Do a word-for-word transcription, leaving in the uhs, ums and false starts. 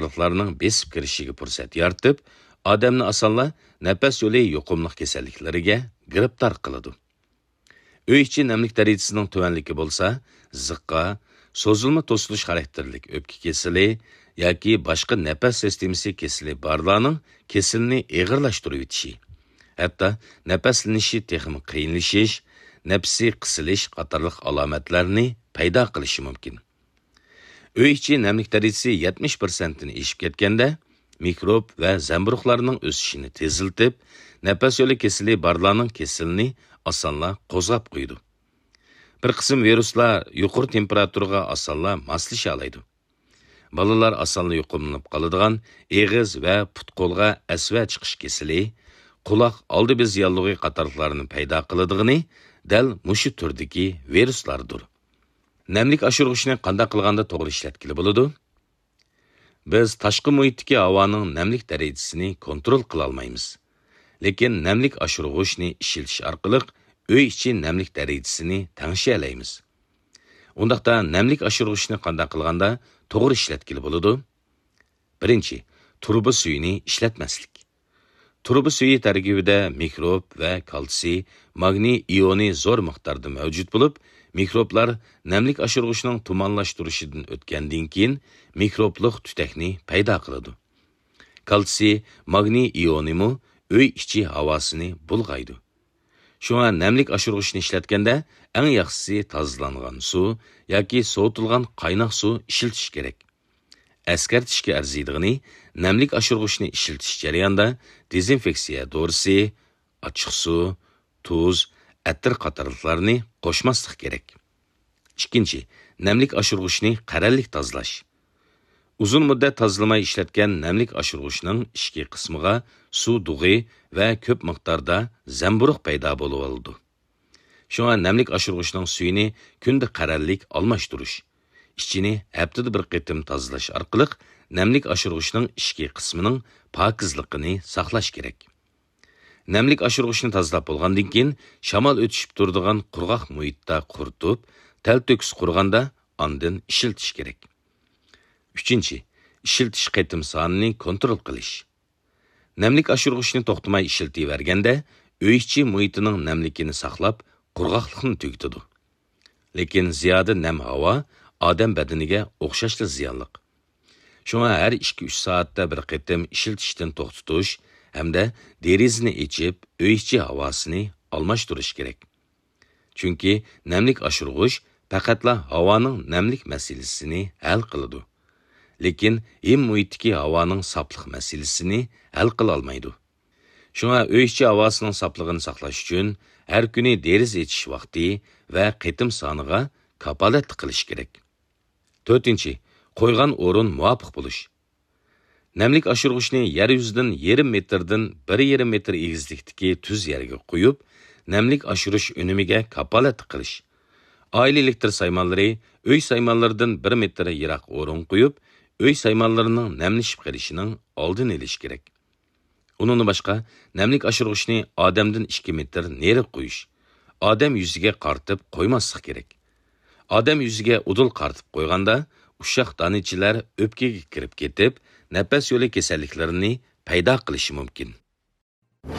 قاتارلىقلارنىڭ بېسىپ كىرىشىگە پۇرسەت يارىتىپ، ئادەمنى ئاسانلا نەپەس يولى يۇقۇملۇق كېسەللىكلىرىگە گىرىپتار قىلىدۇ. ئۆي ئىچى نەملىك دەرىجىسىنىڭ تۆۋەنلىكى بولسا، زىققا، سوزۇلما توسۇلۇش خاراكتېرلىك ئۆپكە كېسىلى ياكى باشقا نەپەس سىستېمىسى كېسىلى بارلارنىڭ كېسىلىنى ئېغىرلاشتۇرۇۋېتىشى، ھەتتا نەپەسلىنىشى تېخىمۇ قىيىنلىشىش، نەپىسى قىسىلىش قاتارلىق ئالامەتلەرنى پەيدا قىلىشى مۇمكىن. ئۆي ئىچى نەملىك دەرىجىسى يەتمىش پىرسەنتتىن ئېشىپ كەتكەندە، مىكروب ۋە زەمبۇرۇغلارنىڭ ئۆسۈشىنى تېزلىتىپ، نەپەس يولى كېسىلى بارلارنىڭ كېسىلىنى ئاسانلا قوزغاپ قويىدۇ. بىر قىسىم ۋىرۇسلار يۇقىرى تېمپېراتۇرىغا ئاسانلا ماسلىشالايدۇ. بالىلار ئاسانلا يۇقۇملىنىپ قالىدىغان ئېغىز ۋە پۇت-قولغا ئەسۋە چىقىش كېسىلى، قۇلاق ئالدى بېزى ياللۇغى قاتارلىقلارنى پەيدا قىلىدىغىنى دەل مۇشۇ تۈردىكى ۋىرۇسلاردۇر. نەملىك ئاشۇرغۇچنى قانداق قىلغاندا توغرا ئىشلەتكىلى بولىدۇ؟ بىز تاشقى مۇھىتتىكى ھاۋانىڭ نەملىك دەرىجىسىنى كونترول قىلالمايمىز. لېكىن نەملىك ئاشۇرغۇچنى ئىشلىتىش ئارقىلىق ئۆي ئىچى نەملىك دەرىجىسىنى تەڭشىيەلەيمىز. ئۇنداقتا نەملىك ئاشۇرغۇچنى قانداق قىلغاندا توغرا ئىشلەتكىلى بولىدۇ؟ بىرىنچى، تۇرۇبا سۈيىنى ئىشلەتمەسلىك. تۇرۇبا سۈيى تەركىبىدە مىكروب ۋە كالتسىي، ماگنىي ئىيونى زور مىقداردا مەۋجۇت بولۇپ، مىكروبلار نەملىك ئاشۇرغۇچنىڭ تۇمانلاشتۇرۇشىدىن ئۆتكەندىن كېيىن مىكروبلۇق تۈتەكنى پەيدا قىلىدۇ. كالتسىي، ماگنىي ئىيونىمۇ ئۆي ئىچى ھاۋاسىنى بۇلغايدۇ. شۇڭا نەملىك ئاشۇرغۇچنى ئىشلەتكەندە ئەڭ ياخشىسى تازىلانغان سۇ ياكى سوۋۇتۇلغان قايناق سۇ ئىشلىتىش كېرەك. ئەسكەرتىشكە ئەرزىيدىغىنى، نەملىك ئاشۇرغۇچنى ئىشلىتىش جەريانىدا دېزىنفېكسىيە دورىسى، ئاچچىقسۇ، تۇز، ئەتىر قاتارلىقلارنى قوشماسلىق كېرەك. ئىككىنچى، نەملىك ئاشۇرغۇچنى قەرەللىك تازىلاش. ئۇزۇن مۇددەت تازىلىماي ئىشلەتكەن نەملىك ئاشۇرغۇچنىڭ ئىچكى قىسمىغا سۇ دۇغى ۋە كۆپ مىقداردا زەمبۇرۇغ پەيدا بولۇۋالىدۇ. شۇڭا نەملىك ئاشۇرغۇچنىڭ سۈيىنى كۈندە قەرەللىك ئالماشتۇرۇش، ئىچىنى ھەپتىدە بىر قېتىم تازىلاش ئارقىلىق نەملىك ئاشۇرغۇچنىڭ ئىچكى قىسمىنىڭ پاكىزلىقىنى ساقلاش كېرەك. نەملىك ئاشۇرغۇچنى تازىلاپ بولغاندىن كېيىن، شامال ئۆتۈشۈپ تۇرىدىغان قۇرغاق مۇھىتتا قۇرۇتۇپ، تەلتۆكۈس قۇرغاندا ئاندىن ئىشلىتىش كېرەك. ئۈچىنچى، ئىشلىتىش قېتىم سانىنى كونترول قىلىش. نەملىك ئاشۇرغۇچنى توختىماي ئىشلىتىۋەرگەندە، ئۆي ئىچى مۇھىتىنىڭ نەملىكىنى ساقلاپ، قۇرغاقلىقنى تۈگىتىدۇ. لېكىن زىيادە نەم ھاۋا ئادەم بەدىنىگە ئوخشاشلا زىيانلىق. شۇڭا ھەر ئىككى-ئۈچ سائەتتە بىر قېتىم ئىشلىتىشتىن توختىتىش ھەمدە دېرىزىنى ئېچىپ، ئۆي ئىچى ھاۋاسىنى ئالماشتۇرۇش كېرەك. چۈنكى نەملىك ئاشۇرغۇچ پەقەتلا ھاۋانىڭ نەملىك مەسىلىسىنى ھەل قىلىدۇ، لېكىن ھىم مۇھىتتىكى ھاۋانىڭ ساپلىق مەسىلىسىنى ھەل قىلالمايدۇ. شۇڭا ئۆي ئىچى ھاۋاسىنىڭ ساپلىقىنى ساقلاش ئۈچۈن ھەر كۈنى دېرىزە ئېچىش ۋاقتى ۋە قېتىم سانىغا كاپالەتلىك قىلىش كېرەك. تۆتىنچى، قويغان ئورۇن مۇۋاپىق بولۇش. نەملىك ئاشۇرغۇچنى يەر يۈزىدىن يېرىم مېتىردىن بىر يېرىم مېتىر ئېگىزلىكتىكى تۈز يەرگە قويۇپ، نەملىك ئاشۇرۇش ئۈنۈمىگە كاپالەتلىك قىلىش. ئائىلە ئېلېكتر سايمانلىرى ئۆي سايمانلىرىدىن بىر مېتىر يىراق ئورۇنغا قويۇپ، ئۆي سايمانلىرىنىڭ نەملىشىپ قېلىشىنىڭ ئالدىنى ئېلىش كېرەك. ئۇنىڭدىن باشقا، نەملىك ئاشۇرغۇچنى ئادەمدىن ئىككى مېتىر نېرىغا قويۇش، ئادەم يۈزىگە قارىتىپ قويماسلىق كېرەك. ئادەم يۈزىگە ئۇدۇل قارىتىپ قويغاندا، ئۇششاق دانىچىلەر ئۆپكىگە كىرىپ كېتىپ، نەپەس يولى كېسەللىكلىرىنى پەيدا قىلىشى مۇمكىن.